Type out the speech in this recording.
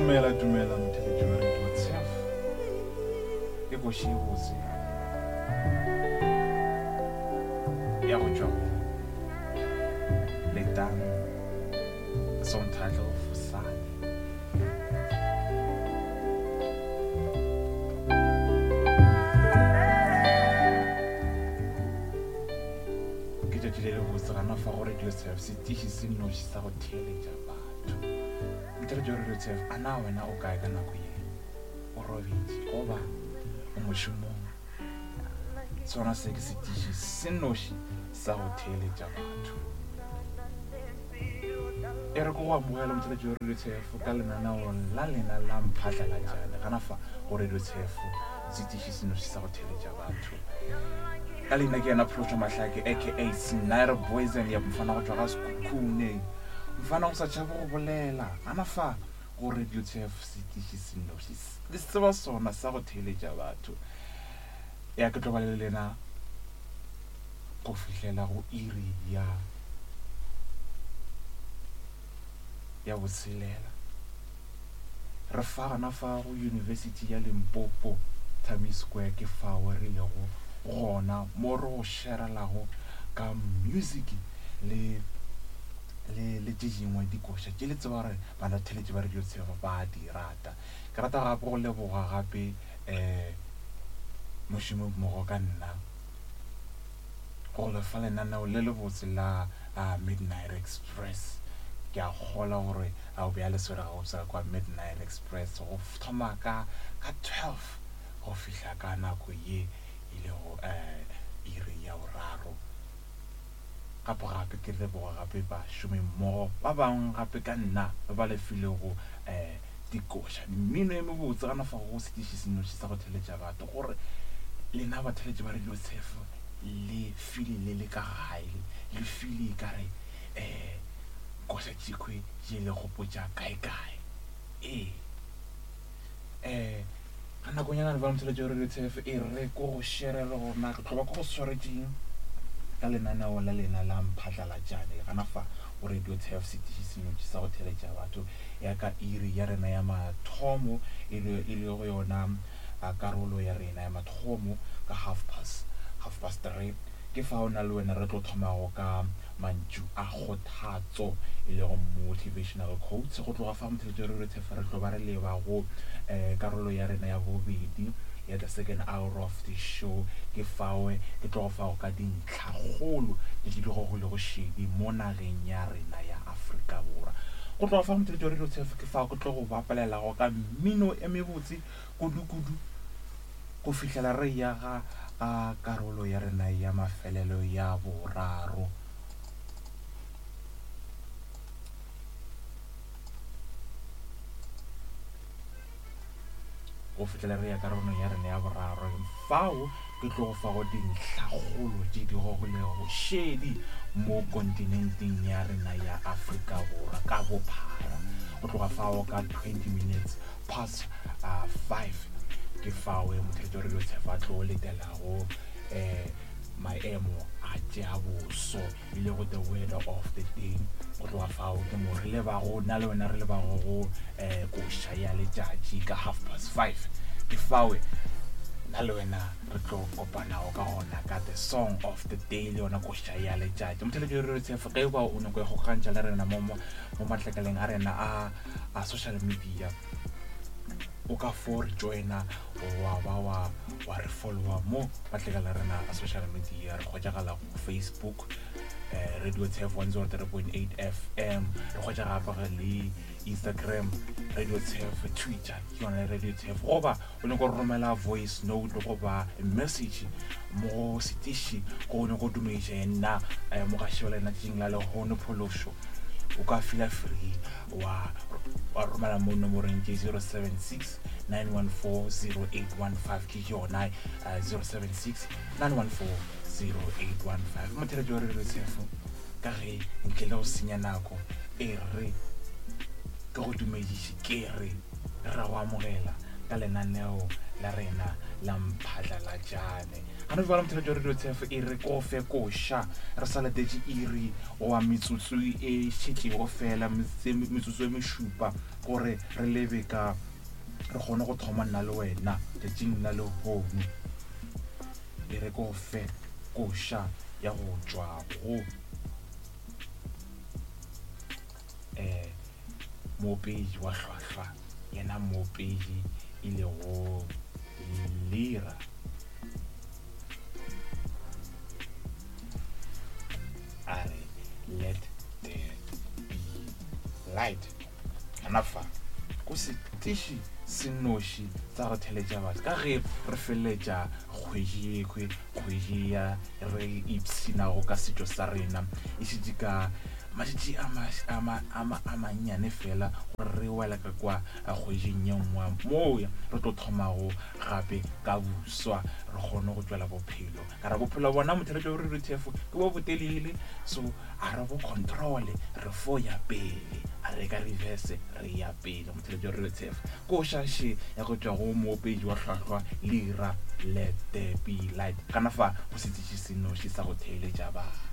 Dumela, dumela motheletši wa Radio Tshef. Ke koši e botse ya go tšwa go Letang, the song title Fosane. Ke tšatši le lebotse gana fa go Radio Tshef, setiši se nnoši sa go theeletša batho. Motheletši wa Radio Tshef, a na wena o kae ka nako ye? O robetše goba o mošomong? Sona se ke setiši se nnoši sa go theeletša batho. E re ke go amogele motheletši wa Radio Tshef ka lenaneo la lena la Mphatlalatšane gana fa go Radio Tshef, setiši se nnoši sa go theeletša batho. Ka leina ke yena Phološo Mahlake aka Snyder Boyzen ya mfana go tšwa ga Sekhukhune. Mfana go sa tšhabe go bolela gana fa go Radio Tshef, setiši se nnoši le se tseba sona sa go theeletša batho. Ya ke tlo ba le lena go fihlela go iri ya ya botshelela. Re fa gona fa go University ya Limpopo, Thami Square ke fao re lego gona mo re go sherelago ka music le le le tše dingwe dikoša tše le tseba gore banatheletši ba Radio Tshego ba di rata. Ke rata gape go leboga gape um mošomi mmogo ka nna go lefa lenaneo le lebotse la Midnight Express. Ke a kgolwa gore a o be a le swere gabotse ka kwa Midnight Express go thoma ka ka 12 go fihla ka nako ye e lego um iri ya boraro. Gape gape ke leboga gape bašomimmogo ba bangwe gape ka nna ba ba le filego um dikoša, mmino e mebotse gana fa go setiši senoši sa go theletša batho gore lena batheletši ba Radio Tshefo le file le le ka gae, le file e ka re um koša tšekhwe tše le gopotša kae-kae. Ee. Um ga nakonyana le ba motheletši wa Radio Tshefo e re ko go shere le gona ke tlo ba ko go swaretšeng ka lenaneo la lena la Mphatlalatšane gana fa go Radio Tshefo setiši senoši sa go theletša batho ya ka iri ya rena ya mathomo e le e le go yona karolo ya rena ya mathomo ka 3:30 ke fao nna le wena re tlo thomago ka mantšu a kgothatso e lego motivational quotes. Go tloga fa motheletši wa Radio Tshefo re tlo ba re leba go um karolo ya rena ya bobedi ya the second hour of the show. Ke fao ke tlo go fago ka dintlhakgolo tše di gogilego šedi mo nageng ya rena ya Afrika Borwa. Go tloga fa motheletši wa Radio Tshefo ke fao ke tlo go bapalelago ka mmino e mebotse kudu-kudu go fihlela re ya ga ga karolo ya rena ya mafelelo ya boraro. Go fihlela re ya karolong ya rena ya boraro, fao ke tlo go fago dintlhakgolo tše di gogilego šedi mo kontinenteng ya rena ya Afrika Borwa ka bophara. Go tloga fao ka 20 minutes past 5 ke fao motheletši wa Radio Tshefa a tlo letelago um maemo a tša boso e lego the weather of the day. Go tloga fao ke mo re lebago nna le wena re lebago go um koša ya letšatši ka 5:30 ke fao nna le wena re tlo kopanago ka gona ka the song of the day le yona koša ya letšatši. Motheletši wa Radio Tshefa ge ba o nyako go kgantšha le rena mo mo matlakaleng a rena a a social media o ka fo re joina wa ba wa wa re followa mo matlakala a rena a social media. Re hwetšagala go Facebook Radio Tshef 103.8 FM, re hwetša gape le Instagram Radio Tshef, Twitter ke yona Radio Tshef, goba o nyaka go romela voice note goba message mo setiši go nyaka go dumediša nna mogaši wa lena tšatšing la lehono Phološo, o ka feel free wa wa romela mo nomoreng ke 076 914 0815 ke yona 076 914 0815. Motheletši wa Radio Tshefo ka ge ntle le go senya nako e re ke go dumediše ke re re go amogela ka lenaneo la rena la Mphatlalatšane. Gana bjale motheletši wa Radio TF e re ko fe koša re sa letetše iri goba metsotso e šetšego fela metsotso e mešupa gore re lebe ka re kgone go thoma nna le wena tšatšing la lehono. E re ko fe koša ya go tšwa go um moopedi wa hlwahlwa yena moopedi e lego Lira. A re let there be light. Gona fa ko setiši se noši sa go theletša batho ka ge re feleletša kgwedi yekhwe kgwedi ya re ipshinago ka setšo sa rena e šetše ka matšatši a mannyane fela gore re wela ka kwa kgweding ye nngwe moo re tlo thomago gape ka buswa re kgone go tšwela bophelo ka re bophelo bona motheletšo wa rtf ke bo botelele so a re bo controle re fo ya pele a re ka reverse re ya pele motheletšo wa rtf ko šaše ya go tšwa go moopedi wa hlwahlwa lira let there be light kana fa go setsitši senoši sa go theeletša ba.